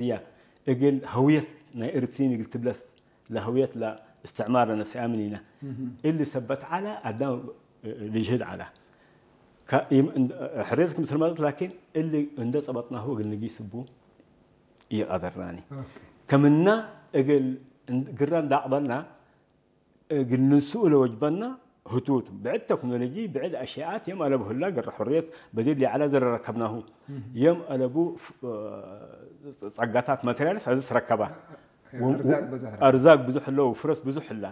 እያ እግል ሀውየት ናይ ኤርትሪን እግል ትብለስ ለሀውየት ለእስትዕማር ለነስአምን ኢና። እሊ ሰበት ዐላ አዳም ልጅህድ ዐላ። ከ-፣ ይም-፣ እንድ-፣ ሕርየት ክምስል ማለት ላኪን እሊ እንደ ጸበጥናሁ እግል ንጊስ እቡ ይቀደርናኒ። ከምና እግል እንድ-፣ ግራ እንዳቅበልና እግል ንንስኡ ለወጅበና ህቱት ብዕድ ተክኖሎጂ ብዕድ አሽያት የም አለቡ ህላ ግራ ሕርየት በዲር ሊዓላ ዘረረከብናሁ የም አለቡ ፍ-፣ ጸጋታት ማቴሪያልስ አዚ ትረከባ። ወ-፣ አርዛቅ ብዙሕ ረ-፣ አርዛቅ ብዙሕ ለው ፍረስ ብዙሕ ህላ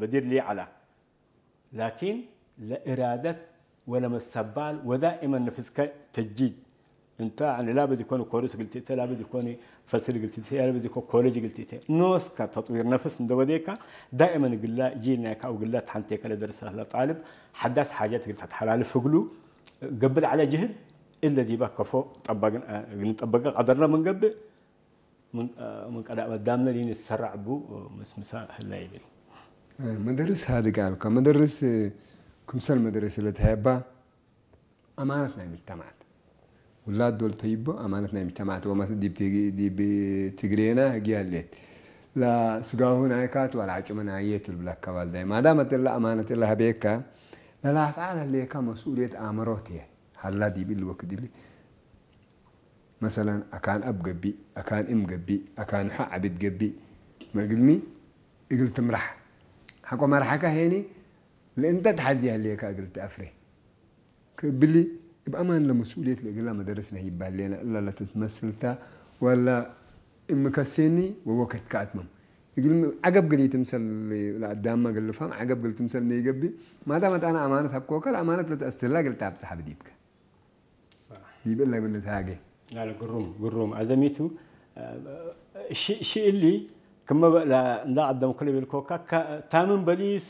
በዲር ሊዓላ። ላኪን ለእራደት ወለመሰባል ወዳኢመን ነፍስከ ተጅዲድ። እንተ ያኒ ላበድ ይኮን ኮርስ ግልቲተ፣ ላበድ ይኮን ፈስል ግልቲተ፣ ላበድ ይኮን ኮሌጅ ግልቲተ። ኖስካ ተጥዊር ነፍስ እንደ ወዴካ ዳኢመን ግላ ጂል ናይካ አው ግላ ተሓንቴከ ለደርሰ ለጣልብ ሓዳስ ሓጀት ግል ተተሓላልፍ እግሉ ገብእ ለዐለ ጅህድ እለ ዲባ ከፎ ጠባግን፣ አ፣ ግንጠበቀ ቀደርና ምንገብእ ምን፣ አ፣ ምን ቀዳእ በዳምነ ሊን ዝሰራዕ ቡ ምስ ምሳ ህላ ይብል። መደርስ ሃድግ አልካ። መደርስ ክምሰል መደርስ ለተሃባ አማነት ናይ ምጅተማዓት። ውላድ ዶል ተይቦ አማነት ናይ ምጅተማዓት። ወመስ-፣ ዲብ ትግ-፣ ዲብ ትግሬና ህግያ ሌት። ላ ስጋሁ ናይካት ዋላ ዓጭመ ናየ ትብል ብላ ከባል ዛይ። ማዳመት እላ አማነት እላ ህቤካ፣ ለላፍዓ ለሌካ መስኡልየት አምሮት እየ። ሀላ ዲብ እሊ ወክድ እሊ። መሰለን፣ አካን አብ ገብእ፣ አካን እም ገብእ፣ አካን ሖ ዓብድ ገብእ፣ መእግልሚ እግል ትምራሕ። ሐቆ መርሓካ ሄኒ፣ ለእንተ ተሓዚ ያለየካ እግል ተአፍሬ። ክእብሊ፣ እብ አማን ለመስኡልየት ለእግላ መደረስ ነህ ይባል ሌና፣ እላ ለትትመስልታ፣ ወላ እምከሴኒ ወወከት ከአትመም። እግልሚ፣ ዐገብ ግሊ ትምሰል፣ ለአዳማ ግልፋም፣ ዐገብ ግል ትምሰል ነይገብእ፣ ማታ መጣና አማነት ሀብኮከ፣ ለአማነት ለተአስትላ እግል ታብጽሕ ብዲብከ። ዲብ እለ ብልት ሃጌ። ላለ ግሩም፣ ግሩም። አዘሚቱ፣ እ፣ ሺ-፣ ሺ እሊ ክመ በ-፣ ላ-፣ እንዳ ቀደምኩ ለቤልኮካ፣ ከ-፣ ታምን በሊስ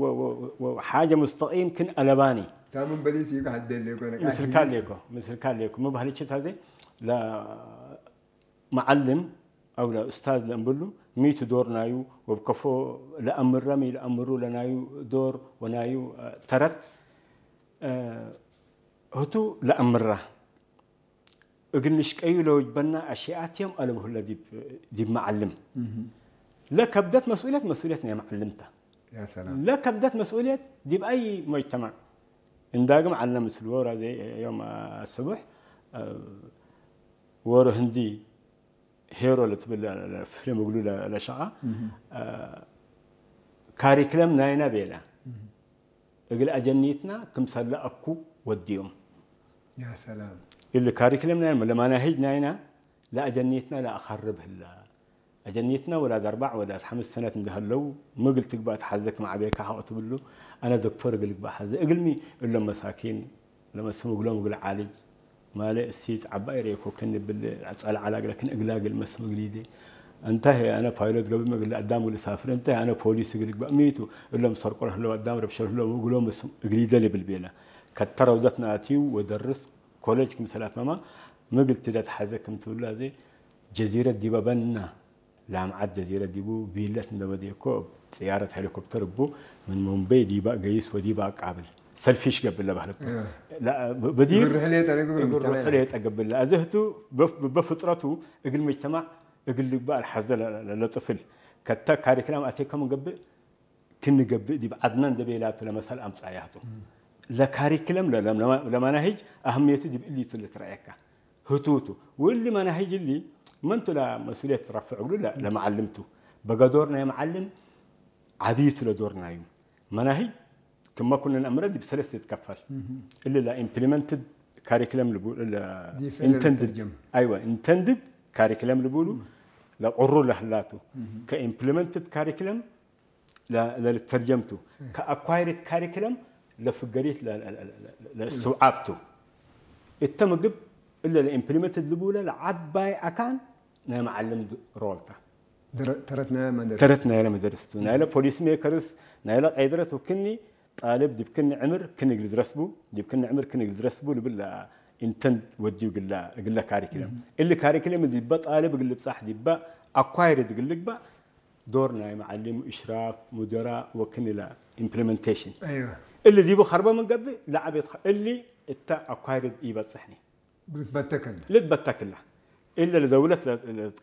ወ-፣ ወ-፣ ወ-፣ ሓጀ ሙስተቂም ክን አለባኒ። ታምን በሊስ ይብካ ሐደ ሌኮ ነቃ ምስልካ ሌኮ፣ ምስልካ ሌኮ። መባህልችት ሀዜ ለ-፣ መዓልም አው ለኡስታዝ ለእምብሉ ሚቱ ዶር ናዩ ወብከፎ ለአምረም ኢለአምሩ ለናዩ ዶር ወናዩ፣ እ፣ ተረት፣ እ፣ ህቱ ለአምራ እግል ንሽቀዩ ለወጅበና አሽያት የም አለብሁለ ዲብ፣ ዲብ መዓልም። ለከብደት መስኡልየት፣ መስኡልየት ናይ መዓልምታ። ያ ሰላም። ለከብደት መስኡልየት ዲብ አይ ሙጅተማዕ። እንዳግም ዐልነ ምስል ወራ ዘይ ዮም አስቡሕ፣ እ፣ ወሮ ህንዲ ሄሮ ለትብል ለ-፣ ለ-፣ ፊልም እግሉ ለ-፣ ለሸቃ፣ እ፣ ካሪክለም ናይና ቤላ። እግል አጀኒትና ክምሰለ አኩ ወድዮም። ያ ሰላም። እሊ ካሪክለም ናይና፣ ለመናሂጅ ናይና፣ ለአጀኒትና ለአኸርብ ህላ። አጀኒትና ወላድ አርባዕ ወላድ ሐምስ ሰነት እንደሀለው፣ ምግል ትግባእ ተሐዘ ክም ዐቤካ ሐቅ ትብሉ፣ አነ ዶክቶር እግል ግባእ ሐዘ። እግልሚ እሎም መሳኪን፣ ለመስም እግሎም እግል ዓልጅ፣ ማለ እሲት ዐባይ ሬኮ ክን ብል ጸልዓላ እግለ ክን እግላግል መስም እግሊዴ። እንተ አነ ፓይሎት ገብም እግል አዳም እግል ሳፍር፣ እንተ አነ ፖሊስ እግል ግባእ ሚቱ፣ እሎም ሰርቆ ለህለው አዳም ረብሸ ለህለው እግሎም መስም እግሊደ ልብል ቤለ። ከተረውዘት ናትዩ ወደርስ ኮሌጅ ክምሰል አትመማ ምግል ትደት ሐዘ ክም ትብሉ አዜ ጀዚረት ዲበ በና ላምዓት ጀዚረት ዲቡ ቪለት እንደ ወዴኮ ጥያረት ሄሊኮፕተር እቡ ምን ሙምበይ ዲባ ገይስ ወዲባ አቃብል ሰልፊሽ ገብለ ባህለት እያ። ላ፣ በ-፣ በዲር ግርሕ ሌጠ ነግብ ግርሕ ምጅተማዕ ሌጠ ገብለ። አዘህቱ በፍ-፣ በፍጥረቱ እግል መጅተማዕ እግል ልግባእ አልሐዘ ለ-፣ ለ-፣ ለጥፍል ከተ ካሪክላም አቴከም ገብእ ክንገብእ ዲብ ዐድና እንደ ቤላቱ ለመሰል አምጻያቱ። ለካሪክለም ለ-፣ ለ-፣ ለመናሂጅ አህምየቱ ዲብ እሊቱ ልትረአየካ። ህቱቱ። ወእሊ መናሂጅ እሊ መንቱ ለመስኡልየት ረፍዕ እግሉ ለ-፣ ለመዓልምቱ። በገዶር ናይ መዓልም ዐቢቱ ለዶር ናዩ። መናሂጅ ክመ ኩሉ ነአምረ ዲብ ሰለስተ ይትከፈል። እሊ ለኢምፕሊመንትድ ካሪክለም ልቡ-፣ ለ-፣ ዲፍ-፣ ኢንተንድድ፣ ለልተርጀም። አይወ፣ ኢንተንድድ ካሪክለም ልቡሉ ለቁሩ ለህላቱ። ከኢምፕሊመንትድ ካሪክለም ለ-፣ ለልተርጀምቱ፣ ከአኳይርድ ካሪክለም ለፍገሪት ለ-፣ ለ-፣ ለ-፣ ለ-፣ ለእስትውዓብቱ። እተ ምግብ እለ ለኢምፕሊመንትድ ልቡለ ለዓባይ አካን ናይ መዓልም ድ-፣ ሮልታ። ድረ-፣ ተረት ናይ መደርስ። ተረት ናይለ መደርስ ቱ። ናይለ ፖሊሲ ሜከርስ፣ ናይለ ቀይድረት ወክኒ ጣልብ ዲብ ክኒ ዕምር ክኒ እግል ድረስቡ፣ ዲብ ክኒ ዕምር ክኒ እግል ድረስቡ ልብል ኢንተንድ ወድዩ ግላ፣ እግለ ካሪክለም። እሊ ካሪክለም ዲበ ጣልብ እግል ልብጻሕ ዲበ አኳይርድ እግል ልግባእ ዶር ናይ መዓሊም፣ እሽራፍ፣ ሙደራ ወክን ኢላ ኢምፕሊመንቴሽን። አይዋ። እሊ ዲቡ ኸርበ ምን ገብእ ለዓቤት ኸ-፣ እሊ እተ አኳይርድ ኢበጽሕኒ። ልትበተክላ። ልትበተክላ። እለ ለደውለት ለ-፣ ለ-፣